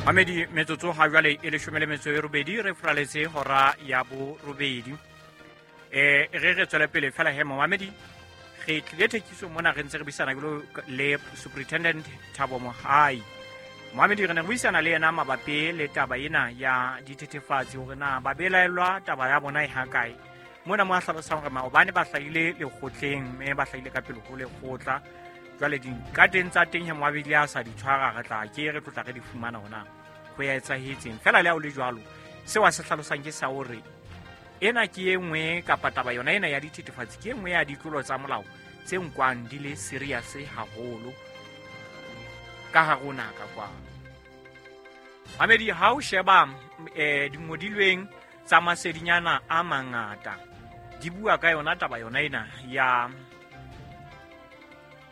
Mamedi, metsotso ha jwale e 18 re furaletse hora ya 8. Re tswele pele fela he momamedi, re tlile thekiso mona re ntse re buisana le Superintendent Thabo Mohai. Momamedi, re ne re buisana le yena mabapi le taba ena ya dithethefatsi, hore na ba belaellwa taba ya bona e hakae. Mona mo a hlalosang hore maobane ba hlahile lekgotleng, mme ba hlahile ka pele ho lekgotla. Jwale dikateng tsa teng he moabedi a sa di tshwara, re tla ke re tlotla re di fumana hona ho ya etsahetseng. Fela le ha o le jwalo, seo a se hlalosang ke sa hore ena ke e nngwe kapa taba yona ena ya dithethefatsi ke e nngwe ya ditlolo tsa molao tse nkwang di le serious haholo ka hare ho naha ka kwano. Mamedi, ha o sheba dingodilweng tsa masedinyana a mangata di bua ka yona taba yona ena ya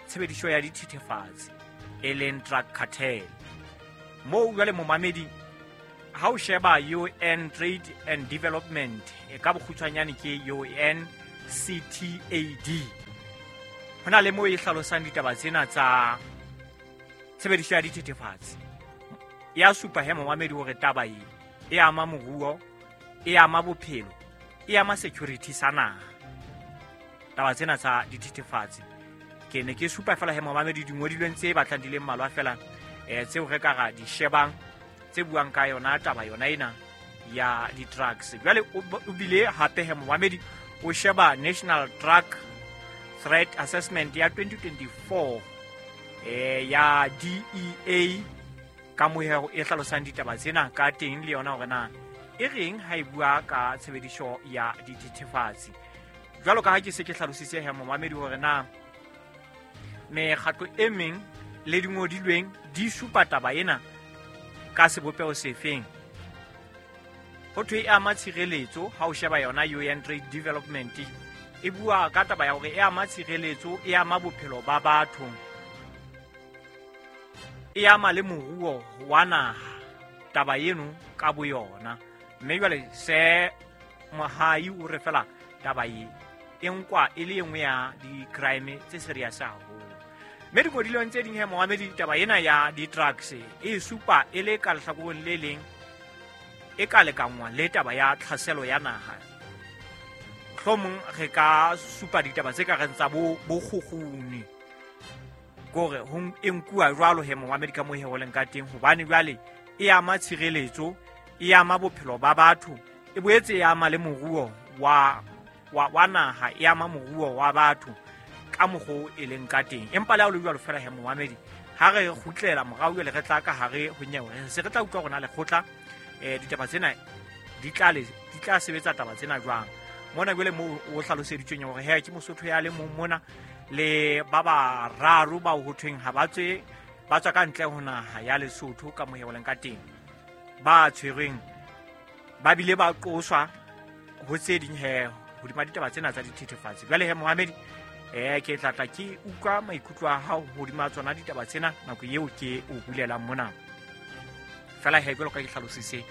tshebediso ya dithethefatsi e leng drug cartel. Moo jwale momamedi, ha o sheba UN Trade and Development, e ka bokgutshwanyane ke UNCTAD, ho na le moo e hlalosang ditaba tsena tsa tshebediso ya dithethefatsi. Ya supa he momamedi hore taba e e ama moruo, e ama bophelo, e ama security sa naha, taba tsena tsa dithethefatsi. Ke ne ke supa fela he momamedi dingodilweng tse batlang di le mmalwa fela tseo re ka ra di shebang tse buang ka yona taba yona ena ya di-drugs. Jwale o bile hape he momamedi o sheba National Drug Threat Assessment ya 2024 ya DEA ka mohero e hlalosang ditaba tsena ka teng le yona hore na e reng ha e bua ka tshebediso ya dithethefatsi. Jwalo ka ha ke se ke hlalositse he momamedi hore na mekgatlo e meng le dingodilweng di supa taba ena ka sebopeho sefeng. Ho thwe e ama tshireletso, ha o sheba yona UN Trade Development e bua ka taba ya hore e ama tshireletso, e ama bophelo ba batho, e ama le moruo wa naha taba eno ka boyona. Mme jwale se Mohai o re fela taba e e nkwa e le e nngwe ya di-crime tse serious haholo. Mme dingodilweng tse ding he momamedi, taba ena ya di-drugs e supa e le ka lehlakoreng le leng e ka lekanngwa le taba ya tlhaselo ya naha. Mohlomong re ka supa ditaba tse ka reng tsa bokgukguni, kore ho e nkuwa jwalo he momamedi ka moo he ho leng ka teng, hobane jwale e ama tshireletso, e ama bophelo ba batho, e boetse e ama le moruo wa naha, e ama moruo wa batho ka mokgwa e leng ka teng. Empa le ha o le jwalo fela he momamedi, ha re kgutlela morao jwale re tla ka hare ho nyewe, re se re tla utlwa rona lekgotla ditaba tsena di tla sebetsa taba tsena jwang. Mona jwale moo o hlaloseditsweng hore he ke Mosotho ya le mong mona le ba bararo bao ho thweng ha ba tswe, ba tswa ka ntle ho naha ya Lesotho ka mohe o leng ka teng, ba tshwerweng ba bile ba qoswa ho tse ding he hodima ditaba tsena tsa dithethefatsi. Jwale he momamedi, ke tla tla ke utlwa maikutlo a hao hodima tsona ditaba tsena nako eo ke o bulelang mona. Fela he jwalo ka ke hlalositse,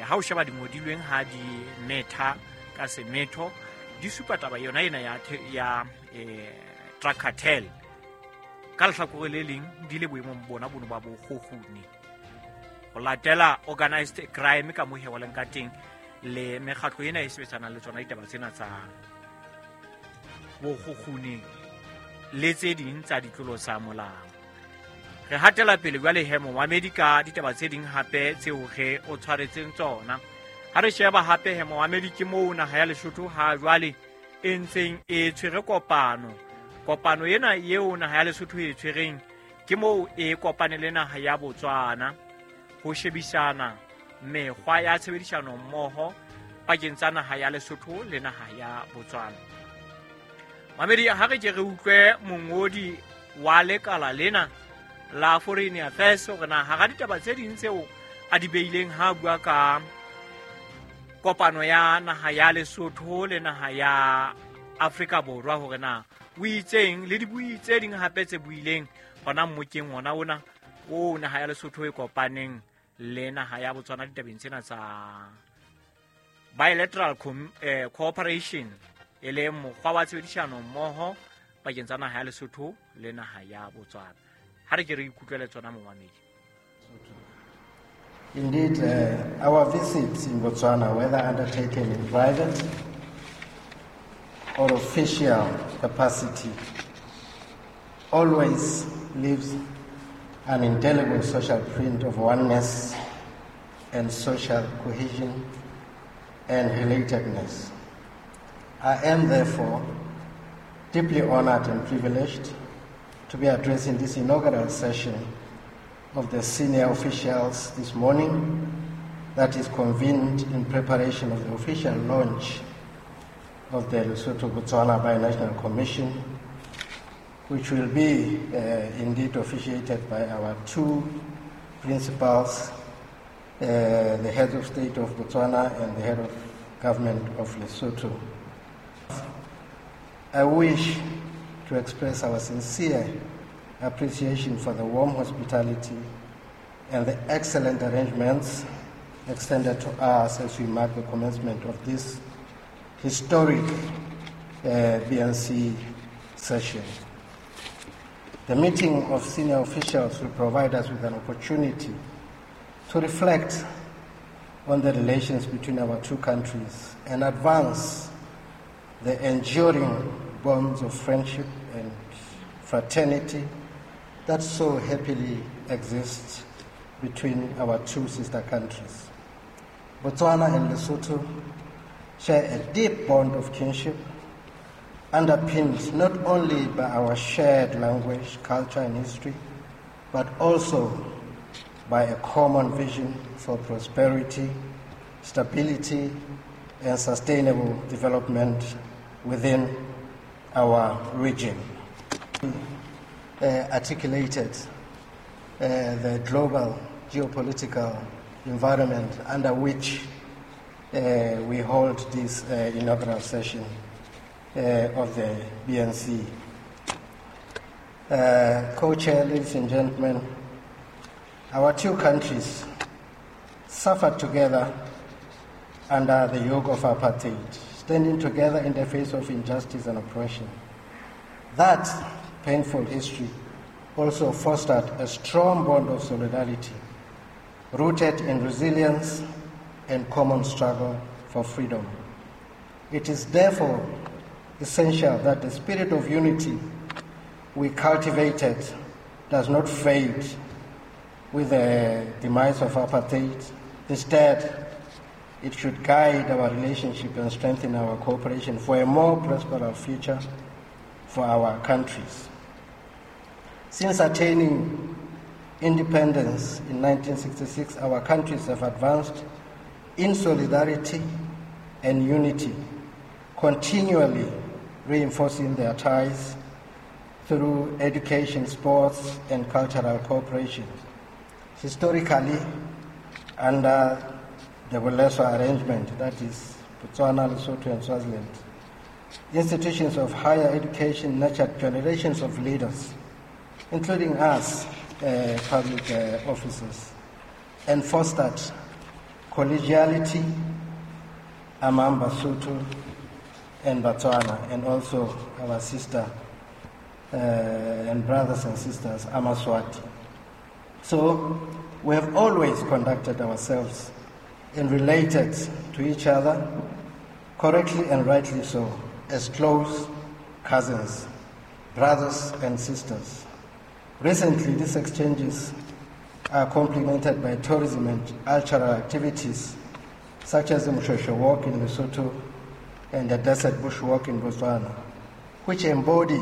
ha o sheba dingodilweng ha di metha ka semetho di supa taba yona ena ya drug cartel ka lehlakore le leng di le boemong bona bono ba bokgukguni, ho latela organized crime ka mohe wa leng ka teng le mekgatlo ena e sebetsanang le tsona ditaba tsena tsa bokgukguni le tse ding tsa ditlolo tsa molao. Re hatela pele jwale he momamedi ka ditaba tse ding hape tseo re o tshwaretseng tsona. Ha re sheba hape he momamedi, ke moo naha ya Lesotho ha jwale e ntseng e tshwere kopano. Kopano ena eo naha ya Lesotho e tshwereng ke moo e kopane le naha ya Botswana ho shebisana mekgwa ya tshebedisano mmoho pakeng tsa naha ya Lesotho le naha ya Botswana. Mamedi, ha re ke re utlwe mongodi wa lekala lena la Foreign Affairs hore na hara ditaba tse ding tseo a di beileng ha bua ka kopano ya naha ya Lesotho le naha ya Afrika Borwa, hore na o itseng le dibui tse ding hape tse buileng hona mmokeng ona ona o naha ya Lesotho e kopaneng le naha ya Botswana ditabeng tsena tsa bilateral cooperation, e leng mokgwa wa tshebedisano mmoho pakeng tsa naha ya Lesotho le naha ya Botswana. Ha re ke re ikutlwele tsona momamedi. Indeed, our visits in Botswana, whether undertaken in private or official capacity, always leaves an indelible social print of oneness and social cohesion and relatedness. I am therefore deeply honored and privileged to be addressing this inaugural session of the senior officials this morning that is convened in preparation of the official launch of the Lesotho-Botswana Binational Commission, which will be indeed officiated by our two principals, the head of state of Botswana and the head of government of Lesotho. I wish to express our sincere appreciation for the warm hospitality and the excellent arrangements extended to us as we mark the commencement of this historic BNC session. The meeting of senior officials will provide us with an opportunity to reflect on the relations between our two countries and advance the enduring bonds of friendship and fraternity that so happily exists between our two sister countries. Botswana and Lesotho share a deep bond of kinship, underpinned not only by our shared language, culture, and history, but also by a common vision for prosperity, stability, and sustainable development within our region. Articulated the global geopolitical environment under which we hold this inaugural session of the BNC. Co-chair, ladies and gentlemen, our two countries suffered together under the yoke of apartheid, standing together in the face of injustice and oppression. That painful history also fostered a strong bond of solidarity, rooted in resilience and common struggle for freedom. It is therefore essential that the spirit of unity we cultivated does not fade with the demise of apartheid. Instead, it should guide our relationship and strengthen our cooperation for a more prosperous future for our countries. Since attaining independence in 1966, our countries have advanced in solidarity and unity, continually reinforcing their ties through education, sports, and cultural cooperation. Historically, under the BOLESWA arrangement, that is Botswana, Lesotho, and Swaziland, institutions of higher education nurtured generations of leaders, including us, public officers, and fostered collegiality among Basotho and Botswana, and also our sister and brothers and sisters, Amaswati. So we have always conducted ourselves and related to each other, correctly and rightly so, as close cousins, brothers and sisters. Recently, these exchanges are complemented by tourism and cultural activities such as the Moshoeshoe Walk in Lesotho and the Desert Bush Walk in Botswana, which embody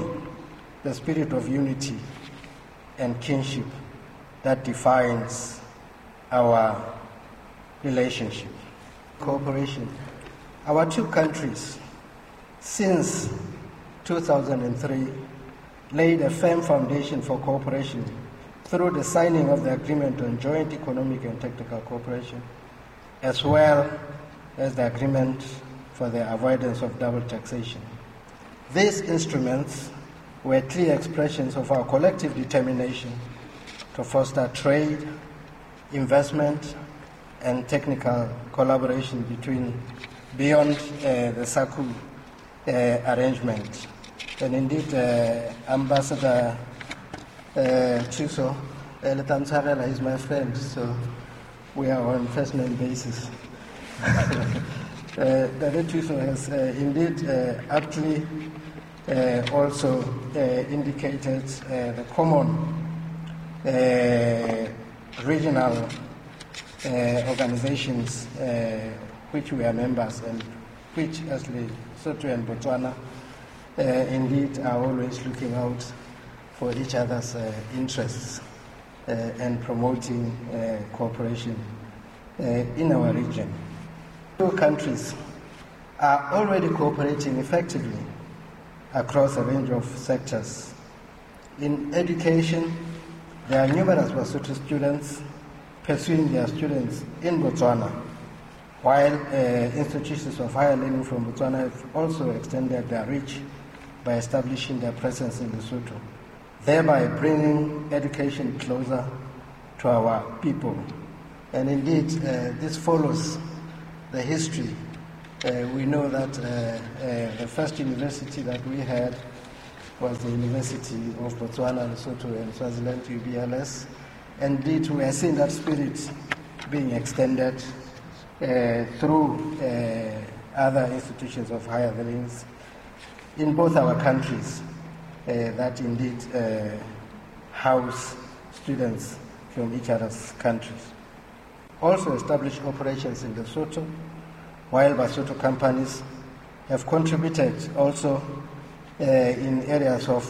the spirit of unity and kinship that defines our relationship. Cooperation. Our two countries, since 2003, laid a firm foundation for cooperation through the signing of the Agreement on Joint Economic and Technical Cooperation, as well as the Agreement for the Avoidance of Double Taxation. These instruments were clear expressions of our collective determination to foster trade, investment, and technical collaboration beyond the SACU arrangement. And indeed, Ambassador Thuso is my friend, so We are on first name basis. Ntate Thuso has indeed aptly also indicated the common regional organizations which we are members and which, as Lesotho and Botswana, indeed are always looking out for each other's interests and promoting cooperation in our region. Two countries are already cooperating effectively across a range of sectors. In education, there are numerous Basotho students pursuing their students in Botswana, while institutions of higher learning from Botswana have also extended their reach by establishing their presence in Lesotho, thereby bringing education closer to our people. And indeed, this follows the history. We know that the first university that we had was the University of Botswana, Lesotho and Swaziland, UBLS. Indeed, we are seeing that spirit being extended through other institutions of higher learning in both our countries that indeed house students from each other's countries. Also established operations in Lesotho, while Basotho companies have contributed also in areas of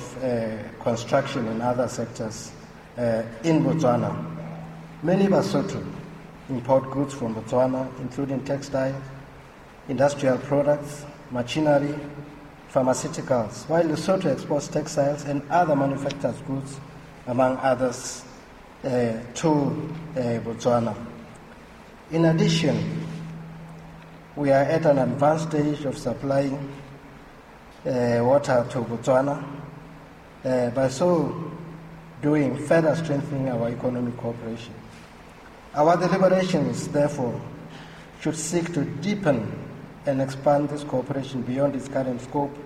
construction and other sectors in Botswana. Many Basotho import goods from Botswana, including textiles, industrial products, machinery, pharmaceuticals, while Lesotho exports textiles and other manufactured goods, among others, to Botswana. In addition, we are at an advanced stage of supplying water to Botswana, by so doing further strengthening our economic cooperation. Our deliberations, therefore, should seek to deepen and expand this cooperation beyond its current scope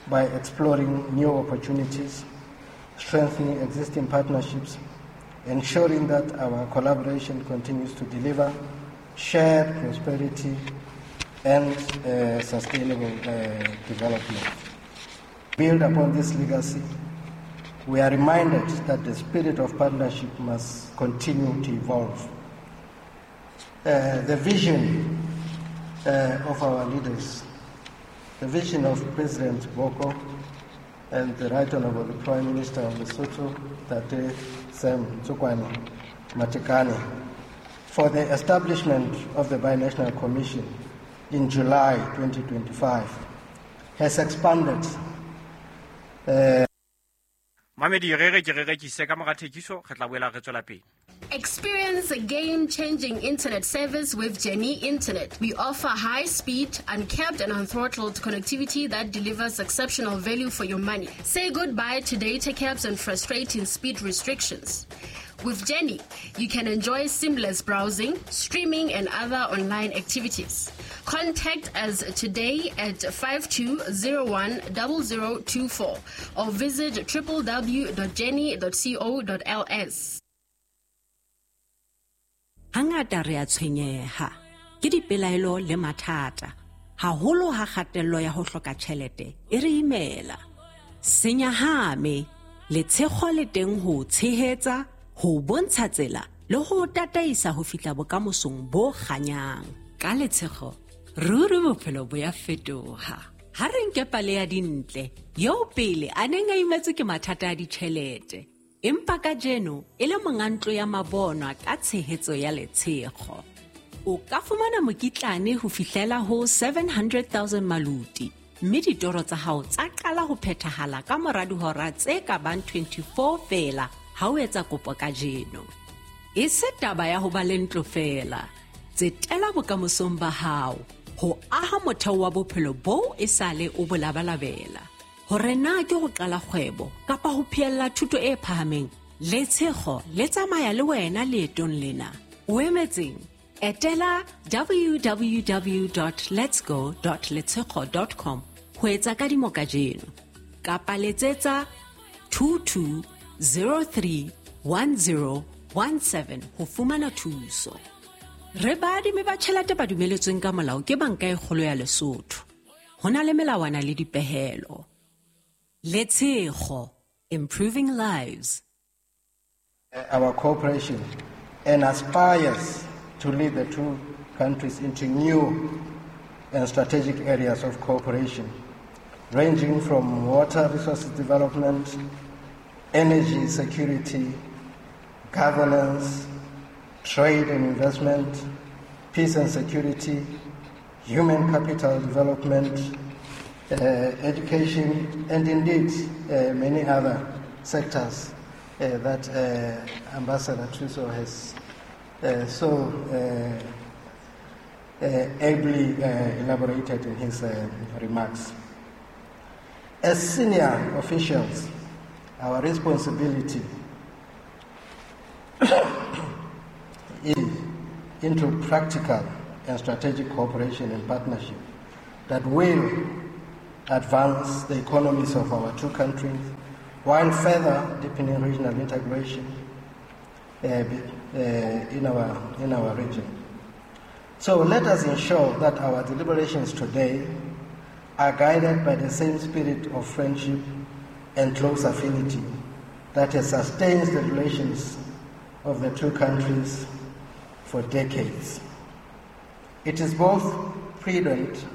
by exploring new opportunities, strengthening existing partnerships, ensuring that our collaboration continues to deliver shared prosperity and sustainable development. Build upon this legacy, we are reminded that the spirit of partnership must continue to evolve. The vision of our leaders, the vision of President Boko and the Right Honorable Prime Minister of Lesotho, Tate Sam Ntsokoane Matekane, for the establishment of the Binational Commission in July 2025 has expanded. Mamedi re re ke re rekise ka mora thekiso, re tla boela re tswela pele. Experience a game-changing internet service with Jenny Internet. We offer high-speed, uncapped and unthrottled connectivity that delivers exceptional value for your money. Say goodbye to data caps and frustrating speed restrictions. With Jenny, you can enjoy seamless browsing, streaming, and other online activities. Contact us today at 52010024 or visit www.jenny.co.ls. Hangata re a tshwenyeha ke dipelaelo le mathata, haholo ha kgatello ya ho hloka tjhelete e re imela. Senyahame letshego le teng ho tshehetsa, ho bontsha tsela le ho tataisa ho fihla bokamosong bo kganyang. Ka letshego ruri bophelo bo ya fetoha. Ha re nke pale ya Dintle eo pele a neng a imetswe ke mathata a ditjhelete, empa kajeno e le monga ntlo ya mabonwa ka tshehetso ya letshego. O ka fumana mokitlane ho fihlela ho 700,000 maluti, mme ditoro tsa hao tsa qala ho phethahala ka mora dihora tse ka bang 24 feela ha o etsa kopo kajeno. E se taba ya ho ba le ntlo feela, tsetela bokamosong ba hao ho aha motheo wa bophelo boo e sale o bo labalabela. Hore na ke ho qala kgwebo kapa ho phehella thuto e phahameng, letshego le tsamaya le wena leetong lena. O emetseng? Etela www.letsgo.letshego.com ho etsa kadimo kajeno, kapa letsetsa 22031017 ho fumana thuso. Re baadimi ba tjhelete ba dumeletsweng ka molao ke Banka e Kgolo ya Lesotho. Ho na le melawana le dipehelo. Letshego, improving lives. Our cooperation and aspires to lead the two countries into new and strategic areas of cooperation, ranging from water resources development, energy security, governance, trade and investment, peace and security, human capital development, education, and indeed many other sectors that Ambassador Thuso has so ably elaborated in his remarks. As senior officials, our responsibility is into practical and strategic cooperation and partnership that will advance the economies of our two countries while further deepening regional integration in our region. So let us ensure that our deliberations today are guided by the same spirit of friendship and close affinity that has sustained the relations of the two countries for decades. It is both prudent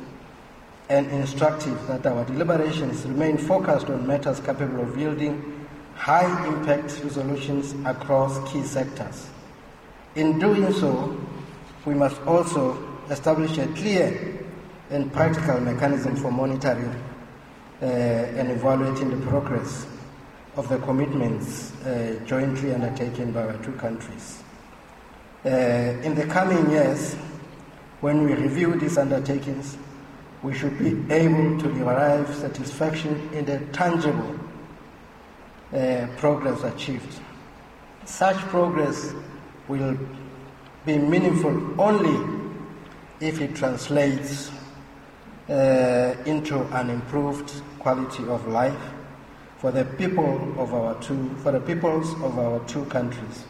and instructive that our deliberations remain focused on matters capable of yielding high-impact resolutions across key sectors. In doing so, we must also establish a clear and practical mechanism for monitoring and evaluating the progress of the commitments jointly undertaken by our two countries. In the coming years, when we review these undertakings, we should be able to derive satisfaction in the tangible progress achieved. Such progress will be meaningful only if it translates into an improved quality of life for the people of our peoples of our two countries,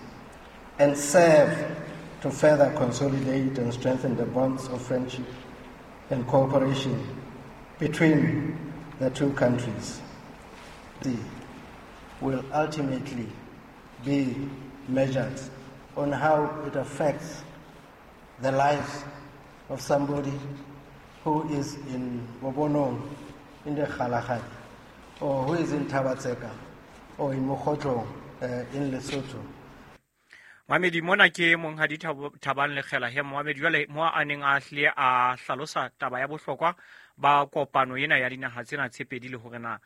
and serve to further consolidate and strengthen the bonds of friendship and cooperation between the two countries. The will ultimately be measured on how it affects the lives of somebody who is in Bobonong, in the Kgalagadi, or who is in Thaba-Tseka, or in Mokhotlong, in Lesotho. Mohamedi mona ke monghadi Thabang Lekgela he Mohamedi jwale mo a neng a hlile a hlalosa taba ya bohlokwa ba kopano ena ya dinaha tsena tse pedi le hore na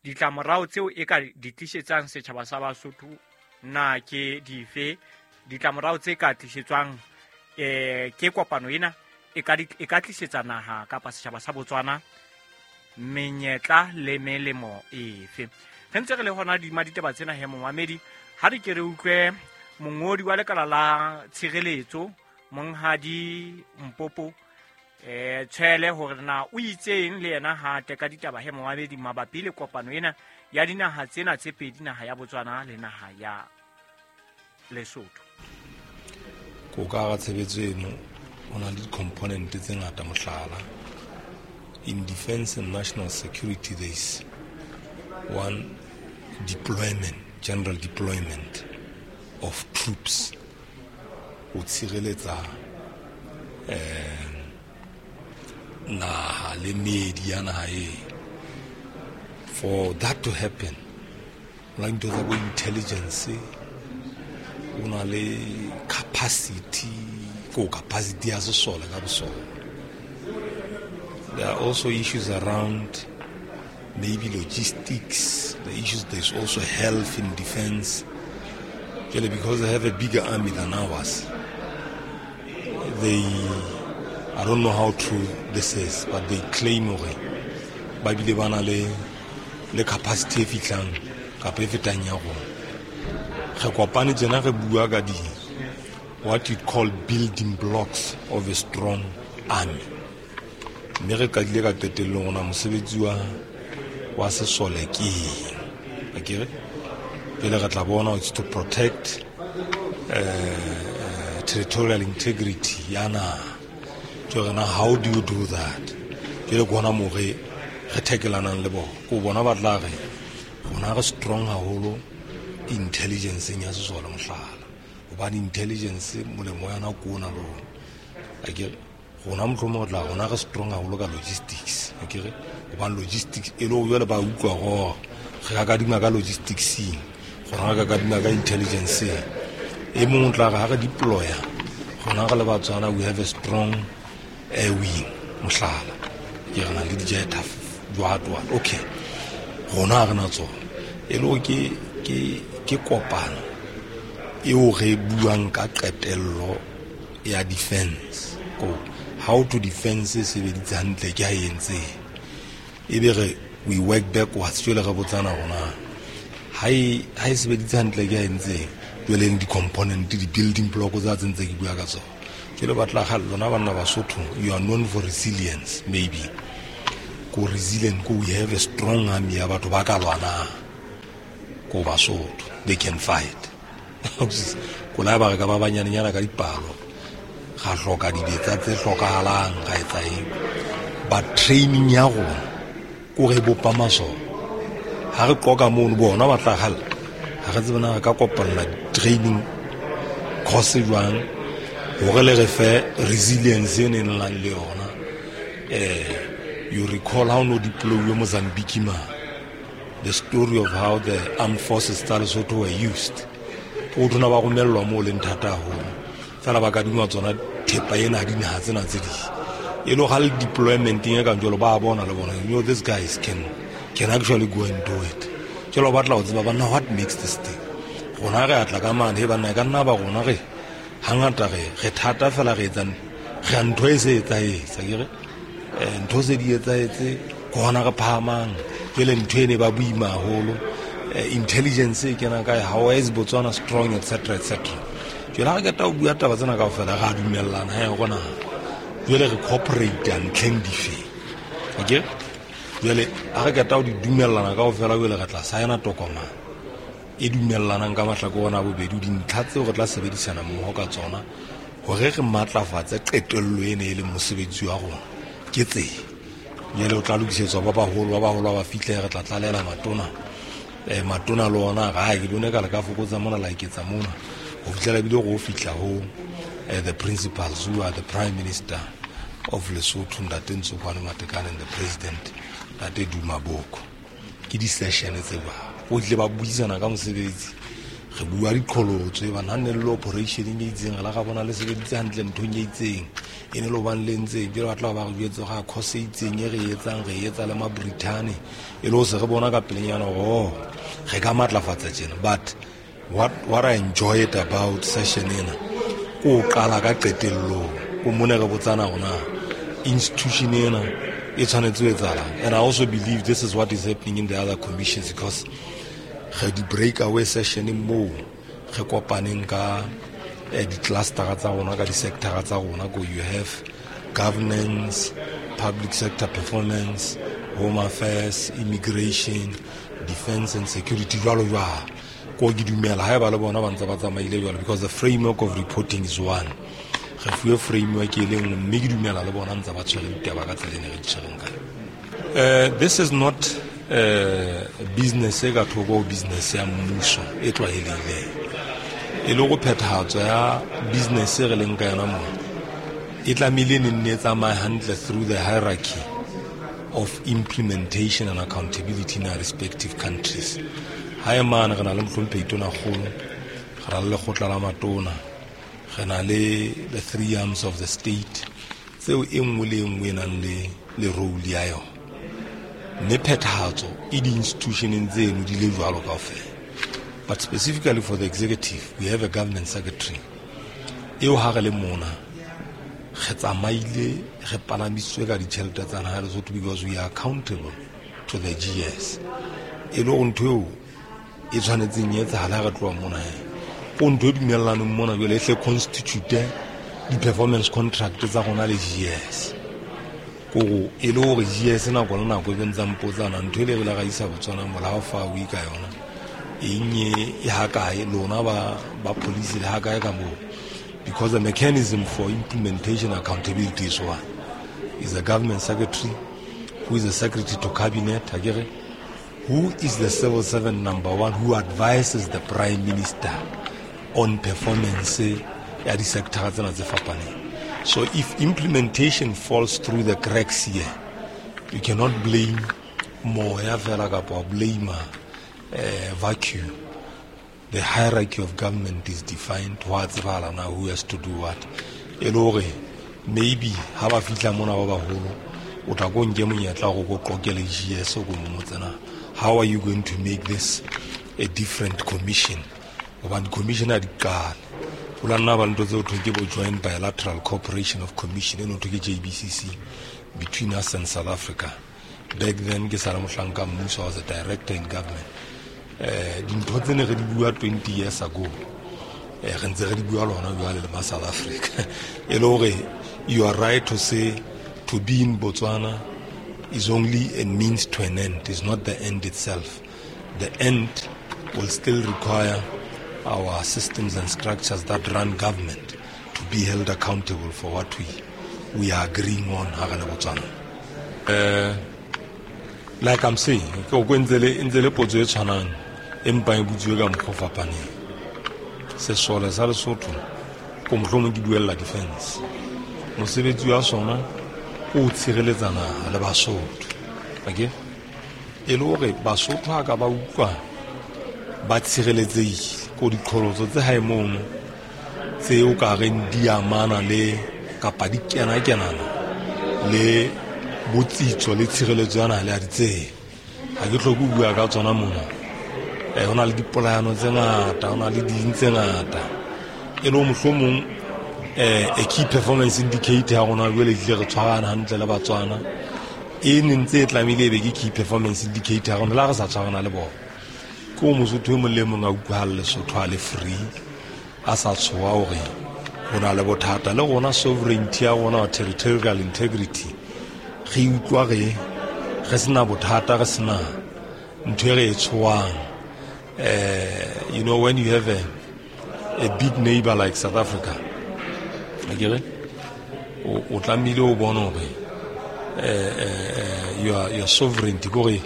ditlamorao tseo e ka di tlisetsang setjhaba sa Basotho na ke dife, ditlamorao tse ka tlisetswang ke kopano ena e ka tlisetsa naha kapa setjhaba sa Botswana menyetla le melemo efe. Re ntse re le hona dima ditaba tsena he Mohamedi, ha re ke re utlwe mongodi wa lekala la tshireletso monghadi Mpopo Tshwele hore na o itseng le yena ha teka ditaba he Mohamedi mabapi le kopano ena ya dinaha tsena tse pedi, naha ya Botswana le naha ya Lesotho. Ko ka ga tshebetso eno o na le di-component tse ngata, mohlala in defense and national security there is one deployment, general deployment of troops ho tshireletsa naha le meedi ya naha e. For that to happen, o na le ntho tsa bo intelligence, o na le capacity, ko capacity ya sesole ka bosona. There are also issues around maybe logistics, the issues, there's also health in defense. Because they have a bigger army than ours, they, I don't know how true this is, but they claim hore ba bile ba na le capacity e fihlang kapa e fetang ya rona. Re kopane tjena re bua ka di what you'd call building blocks of a strong army. Mme re qadile ka qetellong ona mosebetsi wa sesole ke eng, akere? Pele re tla bona it's to protect territorial integrity ya naha. Jwale na how do you do that? Jwale ke hona moo re thekelanang le bona. Ko bona ba tla re rona re strong haholo intelligence ya sesole mohlala. Hobane intelligence molemo wa yona ke ona le ona. Akere rona mohlomong re tla rona re strong haholo ka logistics. Akere hobane logistics e le hore jwale ba utlwa hore re ka kadima ka logistics-eng, rona re ka kadima ka intelligence-eng. E mong o tla re ha re deploya rona re le Batswana we have a strong air wing mohlala. Ke re na le di-jet jwalo. Okay, rona ha re na tsona. E le hore ke kopano eo re buang ka qetello ya defense. Ko how to defense e sebeditse hantle ke ha e entseng. Ebe re we work backwards jwale re botsana rona ha e sebeditse hantle ke ha e entseng. Jwale di-component, di-building block tsa tse ntse ke bua ka tsona. Jwale ba tla kgale lona banna Basotho, you are known for resilience maybe. Ko resilient ko we have a strong army ya batho ba ka lwanang. Ko Basotho, they can fight. Ko la ba re ka ba banyanenyana ka dipalo, ga hloka dibetsa tse hlokahalang, ga etsa eng. But training ya rona ko re bopa masole. Ha re qoka mono bona ba tla kgale. Ha re tsebe na re ka kopanela training course jwang hore le re fe resilience e neng nang le yona. You recall how no deploy Mozambique ma, the story of how the armed forces tsa Lesotho were used. O tona ba romellwa moo leng thata haholo. Fela ba kadingwa tsona thepa ena dinaha tsena tse ding. E le ha le deployment e kang jwalo ba bona le bona, you know these guys can actually go and do it. Jwalo ba tla ho tseba banna what makes this thing. Rona re atla ka mane he banna ka nna ba rona re hangata re thata fela re etsang re ntho e se etsahetse akere ntho se di etsahetse ke hona re phahamang. Jwale ntho ene ba boima haholo, intelligence e kena kae, how is Botswana strong, etc etc. Jwale ha re qeta ho bua taba tsena kaofela re a dumellana he rona jwale re cooperate ntlheng dife. Okay, jwale ha re qeta ho di dumellana kaofela jwale re tla saena tokomane e dumellanang ka mahlakore ona a bobedi dintlha tseo re tla sebedisana mmoho ka tsona hore re matlafatse qetello ena e leng mosebetsi wa rona. Ke tse jwale o tla lokisetswa ba baholo ba fihle re tla tlalela matona. Matona le ona ga ke bone ka le ka fokotsa mona la iketsa mona ho fihlela ebile go fihla ho the principals who are the prime minister of Lesotho Ntate Ntsokoane Matekane and the president Ntate Duma Boko. Ke di-session tse ba go tle ba buisana ka mosebetsi, re bua diqholotso e bana ne le operation e itseng re la ga bona le sebeditse hantle nthong e itseng e ne le bang le ntseng ke re batla ba re jwetse ga course e itseng e re etsang re etsa le ma-Brithani e le ho se re bona ka pelenyana hore re ka matlafatsa tjena. But what I enjoyed about session ena ko qala ka qetellong ko mone re botsana rona institution ena e tshwanetse ho etsahalang. And I also believe this is what is happening in the other commissions because re di breakaway session moo re kopaneng ka di-clustera tsa rona ka di-sectora tsa rona ko you have governance, public sector performance, home affairs, immigration, defense and security jwalo jwalo. Ko ke dumela haeba le bona ba ntse ba tsamaile jwalo because the framework of reporting is one. Re fuwe framework e le nngwe mme ke dumela le bona ntse ba tshwere ditaba ka tsela e ne re di tshwereng ka yona. This is not business e ka thoko ho business ya mmuso e tlwaelehileng. E le go phethahatso ya business e re leng ka yona mona e tlamehile ne nne e tsamaye hantle through the hierarchy of implementation and accountability in our respective countries. Ha e mane re na le mohlomphehi Tonakgolo, re na le lekgotla la matona, re na le the three arms of the state tseo e nngwe le e nngwe e nang le role ya yona. Mme phethahatso e di-institutioneng tseno di le jwalo kaofela. But specifically for the executive, we have a government secretary. Eo ha re le mona re tsamaile re palamisitswe ka ditjhelete tsa naha ya Lesotho because we are accountable to the GS. E le hore ntho eo e tshwanetseng e etsahala ha re tloha mona he. Ko ntho e dumellaneng mona jwale e hle constitute di-performance contract tsa rona le GS. Ko e le hore GS nako le nako e be ntsa mpotsana ntho e le re la ra isa Botswana mola ha o fa o ka yona eng e ha kae lona ba police le ha kae ka moo. Because the mechanism for implementation accountability is one. Is the government secretary, who is the secretary to cabinet, akere, who is the civil servant number one who advises the prime minister on performance ya di-sector tsena tse fapaneng. So if implementation falls through the cracks here, you cannot blame moya fela kapa blame vacuum. The hierarchy of government is defined. Ho a tsebahala na who has to do what. E le hore maybe ha ba fihla mona ba baholo, o tla ko nke monyetla hore ko qoqele GS ko mmotse na, how are you going to make this a different commission? Hobane commission ha di qale. Ho la nna ba le ntho tse ho thweng ke bo Joint Bilateral Cooperation of Commission, e no thwe ke JBCC, between us and South Africa. Back then, ke sa le mohlanka mmuso, I was a director in government. Dintho tse ne re di bua 20 years ago, re ntse re di bua le hona jwale le ma South Africa. E le hore you are right to say to be in Botswana is only a means to an end. It's not the end itself. The end will still require our systems and structures that run government to be held accountable for what we are agreeing on ha re le Botswana. Like I'm saying, ke o ntse le potso e tshwanang empa e botsuwe ka mokgwa o fapaneng. Sesole sa Lesotho ko mohlomong ke buella defense. Mosebetsi wa sona o tshireletsa naha le Basotho. Okay? E le hore Basotho ha ka ba utlwa ba tshireletsehile ko diqholotso tse hae mono tse o ka reng di amana le kapa di kena-kenana le botsitso le tshireletso ya naha le a di tsebe. Ha ke hloke ho bua ka tsona mona. Ho na le dipolayano tse ngata, ho na le ding tse ngata. E le mohlomong a key performance indicator ya rona jwale ehlile re tshwarana hantle le Batswana. E ne ntse e tlamehile e be ke key performance indicator ya rona le ha re sa tshwarana le bona. Ke o Mosotho e mong le mong a utlwahale Lesotho a le free, a sa tshoha hore ho na le bothata. Le rona sovereignty ya rona, territorial integrity, re utlwa re sena bothata, re sena ntho e re e tshohang. You know, when you have a big neighbor like South Africa, akere, o tlamehile o bone hore your sovereignty, kore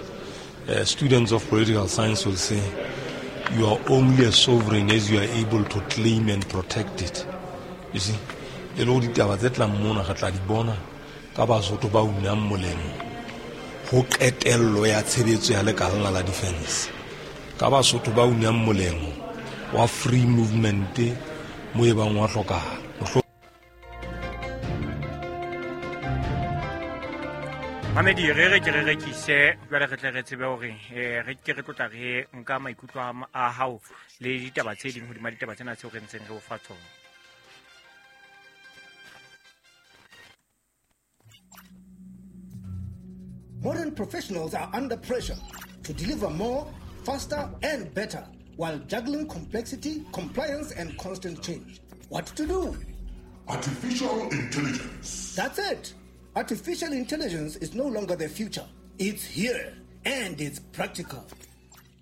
students of political science will say you are only a sovereign as you are able to claim and protect it. You see, e le hore ditaba tse tlang mona re tla di bona ka Basotho ba unang molemo ho qetello ya tshebetso ya lekala la defense, ka Basotho ba unang molemo wa free movement mo e bang wa hlokahala. Mamedi, re re ke re rekise jwale re tle re tsebe hore re ke re tlotla re nka maikutlo a hao le ditaba tse ding hodima ditaba tsena tseo re ntseng re o fa tsona. Modern professionals are under pressure to deliver more, faster and better while juggling complexity, compliance and constant change. What to do? Artificial intelligence. That's it. Artificial intelligence is no longer the future. It's here and it's practical.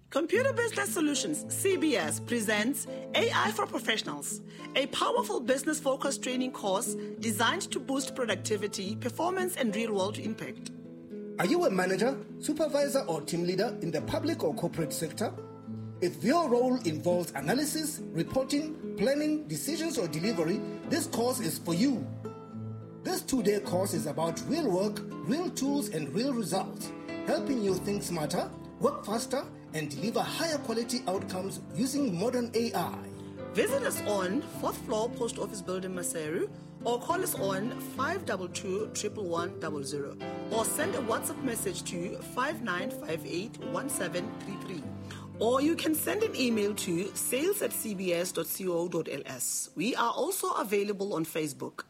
Computer Business Solutions, CBS, presents AI for Professionals, a powerful business-focused training course designed to boost productivity, performance, and real-world impact. Are you a manager, supervisor, or team leader in the public or corporate sector? If your role involves analysis, reporting, planning, decisions, or delivery, this course is for you. This 2-day course is about real work, real tools, and real results, helping you think smarter, work faster, and deliver higher quality outcomes using modern AI. Visit us on 4th floor Post Office Building, Maseru, or call us on 522 11100, or send a WhatsApp message to 5958 1733. Or you can send an email to sales@cbs.co.ls. We are also available on Facebook.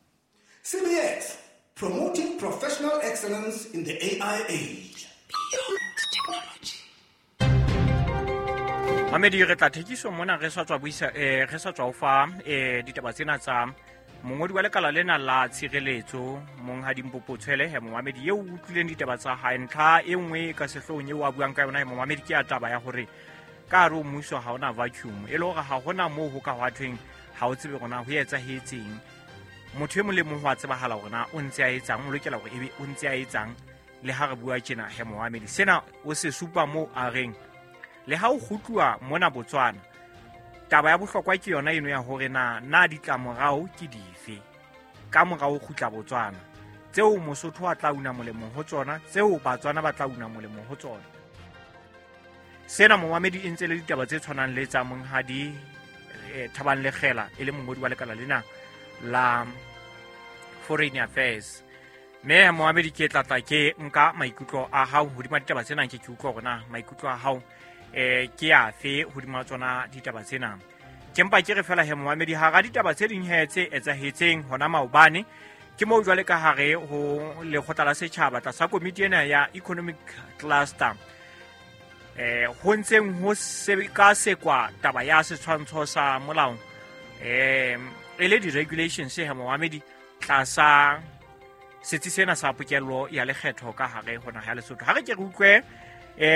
CBS, promoting professional excellence in the AI age. Beyond technology. Mamedi, re tla thekiso mona re sa tswa buisa re sa tswa fa ditaba tsena tsa mongodi wa lekala lena la tshireletso Monghadi Mpopo Tshwele. He momamedi eo utlwileng ditaba tsa hae, ntlha e nngwe ka sehloohong eo a buang ka yona he momamedi ke ya taba ya hore ka hare ho mmuso ha hona vacuum, e le hore ha hona moo ho ka hwa thweng Ha o tsebe rona ho etsahetseng. Motho e mong le mong ho a tsebahala hore na o ntse a etsang, o lokela hore ebe o ntse a etsang le ha re bua tjena he momamedi. Sena o se supa moo a reng le ha o kgutluwa mona Botswana, taba ya bohlokwa ke yona eno ya hore na ditlamorao ke dife ka mora ho kgutla Botswana, tseo Mosotho a tla una molemo ho tsona, tseo Batswana ba tla una molemo ho tsona. Sena momamedi e ntse le ditaba tse tshwanang le tsa monghadi Thabang Lekgela e le mongodi wa lekala lena la Foreign Affairs. Mme momamedi ke tlatla ke nka maikutlo a hao hodima ditaba tsena, ke utlwa hore na maikutlo a hao ke afe hodima tsona ditaba tsena. Ke mpa ke re fela he momamedi, hara ditaba tse ding he tse etsahetseng hona maobane, ke moo jwale ka hare ho lekgotla la setjhaba tlasa komiti ena ya Economic Cluster, ho ntseng ho sekasekwa taba ya setshwantsho sa molao, e le di-regulations he momamedi tlasa setsi sena sa pokello ya lekgetho ka hare ho naha ya Lesotho. Ha re ke re utlwe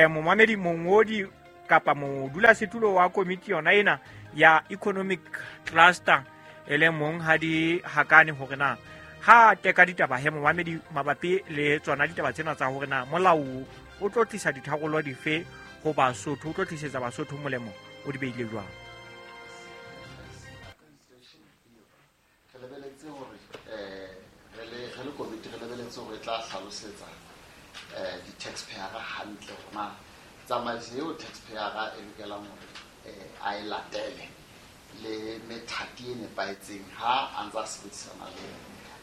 momamedi mongodi kapa modulasetulo wa komiti yona ena ya Economic Cluster e le monghadi Hakane hore na ha teka ditaba he momamedi mabapi le tsona ditaba tsena tsa hore na molao o tlo tlisa ditharollo dife ho Basotho, o tlo tlisetsa Basotho molemo, o di beile jwang. Re lebeletse hore re le komiti re lebeletse hore e tla hlalosetsa di-taxpayer hantle hore na tsamaiso eo taxpayer e lokelang hore a e latele le methati e nepahetseng ha a ntse a sebedisana le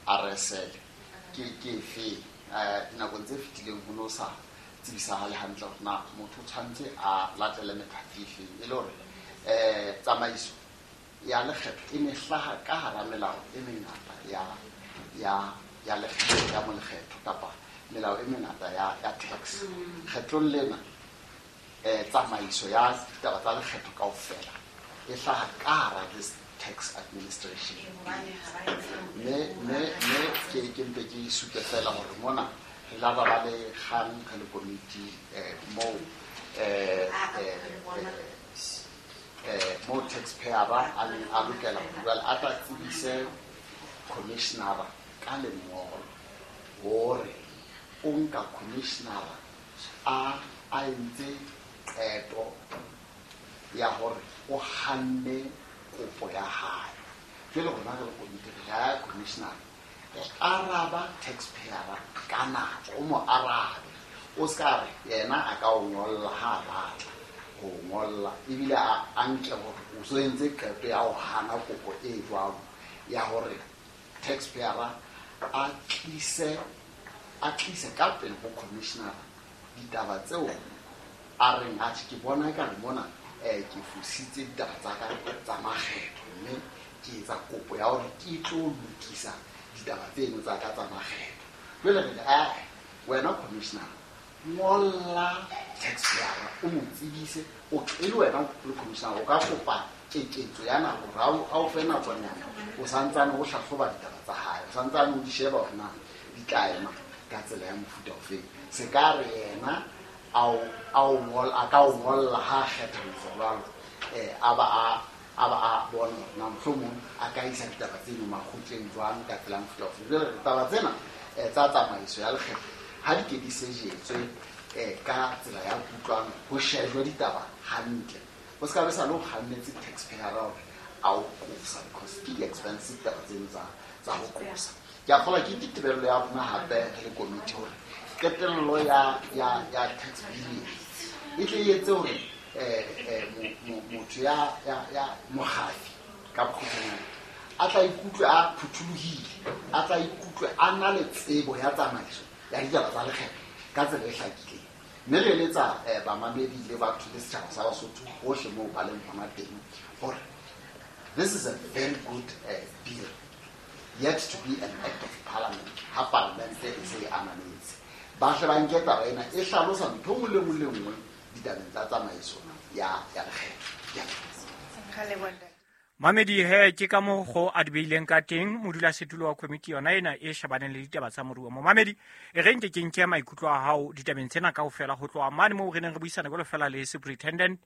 RSL ke efe. Dinakong tse fetileng ho no sa tsebisahale hantle hore na motho o tshwanetse a latele methati efeng, e le hore tsamaiso ya lekgetho e ne hlaha ka hara melao e mengata ya lekgetho ya molekgetho kapa melao e mengata ya tax. Kgetlong lena tsamaiso ya ditaba tsa lekgetho kaofela e hlaha ka hara this tax administration. Me ke mpe ke supe fela hore mona re la ba le kgang re le komiti moo mo taxpayer a neng a lokela ho jwale a tla tsebise commissioner ka lengolo hore o nka commissioner a entse qeto ya hore o hanne kopo ya hae. Jwale rona re le komiti re ya commissioner araba taxpayer ka nako, o mo arabe, o ska re yena a ka o ngolla ha a batla ho ngolla, ebile a nke hore o so entse qeto ya ho hana kopo e jwalo ya hore taxpayer a tlise ka pele ho commissioner ditaba tseo a reng atjhe ke bona ekare mona ke fositse ditaba tsa ka tsa makgetho, mme ke etsa kopo ya hore ke tlo lokisa ditaba tseno tsa ka tsa makgetho. Jwale re re wena commissioner ngolla taxpayer o mo tsebise, o e le wena le commissioner o ka kopa keketso ya nako hore ha o fe nakonyana o santsane o hlahloba ditaba tsa hae, o santsane o di sheba hore na di tla ema ka tsela ya mofuta ofeng. Se ka re yena a ka o ngolla ha a kgetha ho etsa jwalo, a ba a bona hore na mohlomong a ka isa ditaba tseno makgotleng jwang ka tsela ya mofuta ofeng. Jwale taba tsena tsa tsamaiso ya lekgetho ha di ke di sejetswe ka tsela ya kutlwano, ho shejwe ditaba hantle, o ska be sa le o kgannetse taxpayer hore a o qosa, because ke di-expensive taba tseno tsa ho qosa. Ke a kgolwa ke ditebello ya rona hape re le komiti hore qetello ya tax bill e tle e etse hore motho ya mogafi ka bokgutshwanyane a tla ikutlwe a phuthulohile, a tla ikutlwe a na le tsebo ya tsamaiso ya ditaba tsa lekgetho ka tsela e hlakileng. Mme re eletsa bamamedi le batho le setjhaba sa Basotho hohle moo ba leng hona teng hore this is a very good bill yet to be an act of parliament. Ha parliamente e se e ananetse, ba hle ba nke taba ena e hlalosa ntho e nngwe le nngwe le nngwe ditabeng tsa tsamaiso ya lekgetho. Mamedi he ke ka moo go a di beileng ka teng modulasetulo wa komiti yona ena e shebaneng le ditaba tsa moruo. Momamedi e re nke ke nke maikutlo a hao ditabeng tsena kaofela ho tloha mane moo re neng re buisana jwalo fela le Superintendent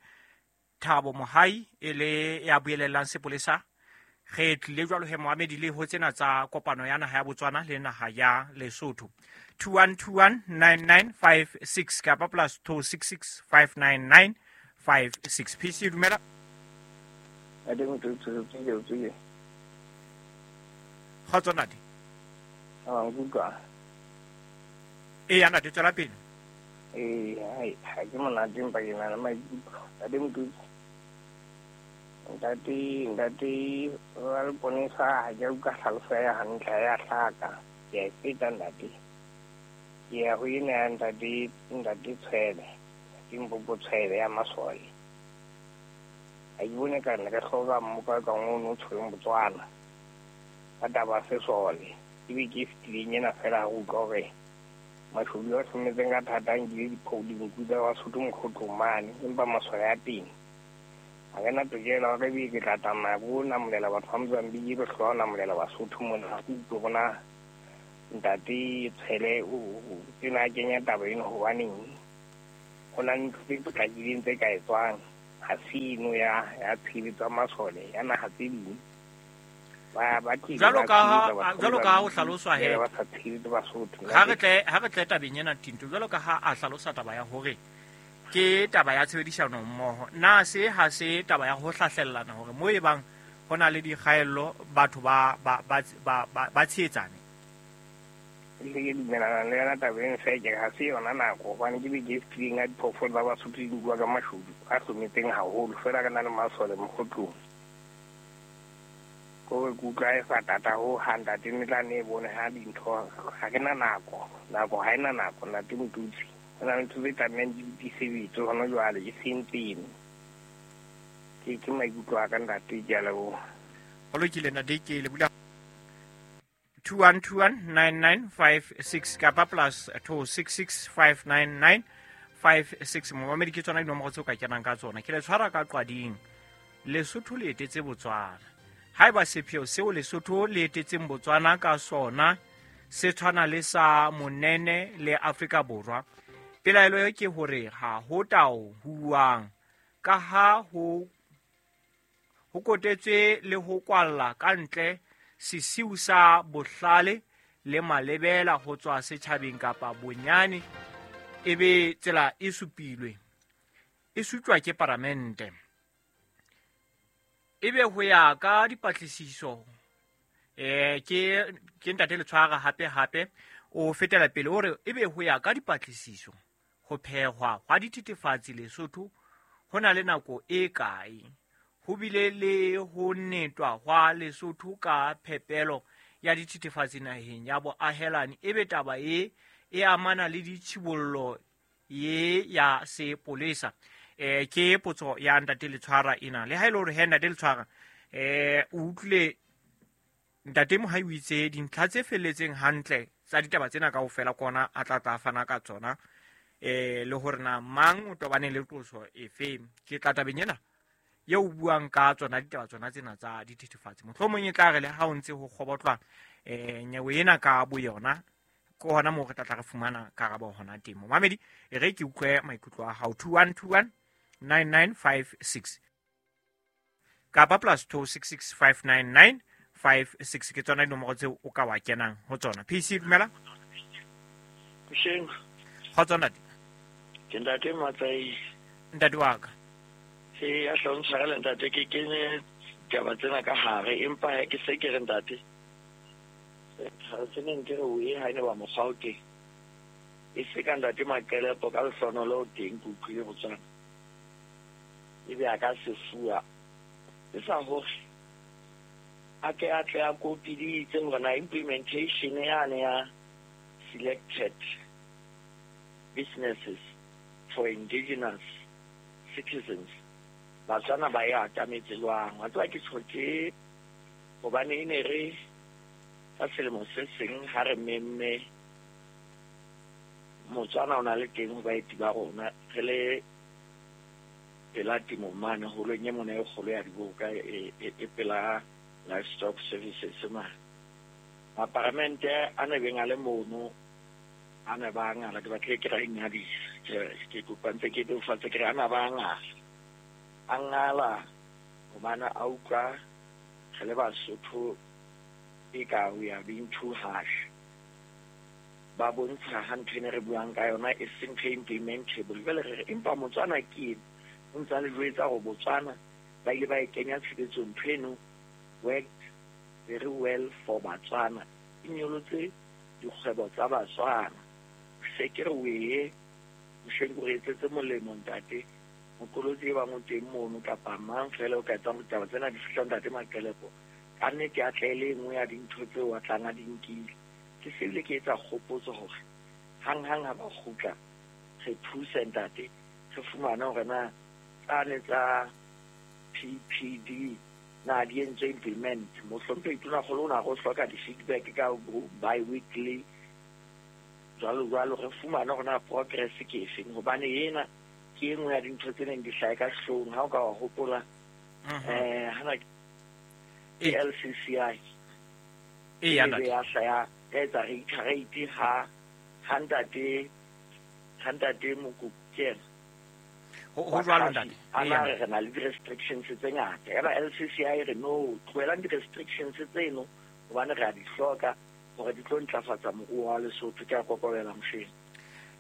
Thabo Mohai e le ya buelellang sepolesa. Re tlile jwalo he moamedi le ho tsena tsa kopano ya naha ya Botswana le naha ya Lesotho. 21219956 kapa plus 26659956. PC dumela. Kgotso ntate. Eya ntate, tswela pele. Ee, ha ke monate empa ke na le maikutlo. Ntate Motutsi. Ntate wa leponesa ha ke utlwa tlhaloso ya hantle ya hlaka. Ke a e feta ntate. Ke ya ho ena ya ntate Tshwele. Ke Mpopo Tshwele ya masole. Ha ke bone ka nna re hloka mmoka ka ngono o tshwereng Botswana. Ka taba sesole. Ebe ke e fetileng ena fela ha re utlwa hore mashodu a hlometseng ka thata a nkile dinku tsa Basotho mokgotlong mane, empa masole a teng. Ha ke na tokelo hore ebe ke tla tsamaya ko namolela batho ba Mozambique, ke hlola ho namolela Basotho mona. Ha ke utlwe hore na ntate Tshwele o tena a kenya taba eno hobaneng. Ho na le ntho tse potlakileng tse ka etswang. Ha se eno ya tshehetso ya masole ya naha tse ding. Jwalo ka ha o hlaloswa he ha re tle tabeng ena Tinto, jwalo ka ha a hlalosa taba ya hore ke taba ya tshebedisano mmoho, na se ha se taba ya ho hlahlellana hore mo e bang ho na le dikgaello batho ba tshehetsane? Le ke dumelana le yona taba eno fela ke ha se yona nako, hobane ke beke e fetileng ya diphoofolo tsa Basotho di nkuwa ka mashodu a hlometseng haholo, fela re na le masole mokgotlong. Ko ke utlwa e sa tata ho hang ntate, ne tla ne e bone ha dintho ha ke na nako, nako ha ena nako ntate Motutsi. Ho na le ntho tse tlamehang di sebetse hona jwale, e seng tseno. Ke maikutlo a ka ntate, ke a leboha. Ho lokile ntate, ke le bula 21219956 kapa plus 26659956. Momamedi ke tsona dinomoro tseo ka kenang ka tsona. Ke le tshwara ka qwading. Lesotho le etetse Botswana. Haeba sepheo seo Lesotho le etetseng Botswana ka sona se tshwana le sa Monene le Afrika Borwa, pelaelo e ke hore ha ho tao huwang ka ha ho kotetswe le ho kwalla ka ntle sesiu sa bohlale le malebela ho tswa setjhabeng kapa bonyane ebe tsela e supilwe e sutjwa ke paramente. Ebe ho ya ka dipatlisiso ke ntate Letshwara hape o fetela pele o re ebe ho ya ka dipatlisiso ho phehwa hwa dithethefatsi Lesotho ho na le nako e kae, ho bile le ho netwa hwa Lesotho ka phepelo ya dithethefatsi naheng ya boahelani, ebe taba e amana le ditshibollo ye ya sepolesa. Ke potso ya ntate Letshwara ena. Le ha ile hore he ntate Letshwara o utlwile ntate Mohai o itse dintlha tse felletseng hantle tsa ditaba tsena kaofela kona a tla fana ka tsona, le hore na mang o tobane le qoso efe. Ke tla tabeng ena eo buang ka tsona ditaba tsona tsena tsa dithethefatsi. Mohlomong e tla re le ha o ntse ho kgobotlwa nyewe ena ka boyona, ke hona moo re tla re fumana karabo hona teng. Momamedi, e re ke utlwe maikutlo a hao. 21219956 kapa plus 26659956 ke tsona dinomoro tseo o ka wa kenang ho tsona. PC dumela. Kusheng. Kgotso ntate. Ke ntate Matsai. Ntate wa ka. E a hlontshwarela ntate, ke kene taba tsena ka hare, empa ke se ke re ntate se neng ke re o e ha ene ba mokgwa o teng, e se ka ntate Maqelepo ka lehlonolo o teng, ke utlwile Botswana ebe a ka se fuwa e sa hore a ke a tle a kopiditse hore na implementation yane ya selected businesses for indigenous citizens Batswana ba e atametse jwang. Wa tseba ke tjho tje hobane e ne re ka selemo se seng ha re memme Motswana o na le teng ho baeti ba rona, re le pela temo mane holong e mona e kgolo ya diboka e pela livestock services mane. Maparamente a ne beng a le mono a ne ba ngala, ke batlile ke ra ingadisa, ke kopa ntse ke bebofatse ke re a na ba ngala, a ngala hobane a utlwa Re le Basotho e ka we are being too harsh. Ba bontsha ha ntho ene re buang ka yona e seng ntho e implementable. Jwale re re empa Motswana ke ena, o ntse a le jwetsa hore Botswana ba ile ba e kenya tshebetsong ntho eno worked very well for Batswana, e nyolotse dikgwebo tsa Batswana. Se ke re wee mosheng o re etsetse molemo ntate moqolotsi e bang o teng mono kapa mang fela o ka etsang hore ditaba tsena di fihla ntate Maqelepo, ka nnete a tle le e nngwe ya dintho tseo a tlang a di nkile. Ke se bile ke etsa kgopotso hore hanghang ha ba kgutla re thuse ntate re fumane hore na tsane tsa PPD na di entswe implement. Mohlomphehi Tonakgolo o na re o hloka di-feedback ka bi-weekly jwalo jwalo, re fumane hore na progress ke efeng, hobane ena ke e nngwe ya dintho tse neng di hlahe ka sehloohong ha o ka wa hopola hana ke LCCI e ya ya hlaya ya etsa reiterate ha ntate Mokopu ke yena ho jwalo ntate a na re na le di-restrictions tse ngata, yaba LCCI re no tlohelang di-restrictions tseno hobane re a di hloka hore di tlo ntlafatsa moruo wa Lesotho. Ke a kokobela mosheng.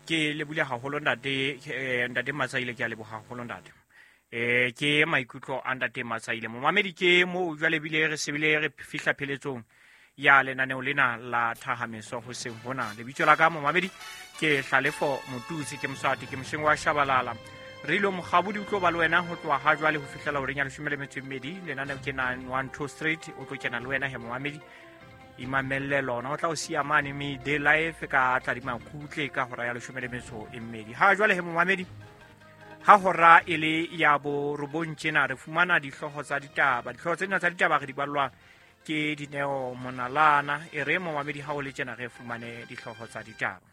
Ke lebule haholo ntate, ntate Matsaile, ke a leboha haholo ntate. Ke maikutlo a ntate Matsaile. Momamedi ke mo jwale bile re sebile re fihla pheletsong ya lenaneo lena la Thahameso hoseng hona. Lebitso la ka momamedi ke Hlalefo Motutsi, ke Moswati, ke mosheng wa Shabalala. Re ilo mokgabodi o tlo ba le wena ho tloha ha jwale ho fihlela horeng ya 12. Lenaneo ke 912 Street, o tlo kena le wena he momamedi. Imamelle lona o tla o siya mane me day life ka tla di makutle ka hora ya 12. Ha jwale he momamedi, ha hora e le ya 9 tjena re fumana dihlooho tsa ditaba. Dihlooho tsena tsa ditaba re di ballwa ke Dineo Monalana. E re momamedi ha o le tjena re fumane dihlooho tsa ditaba.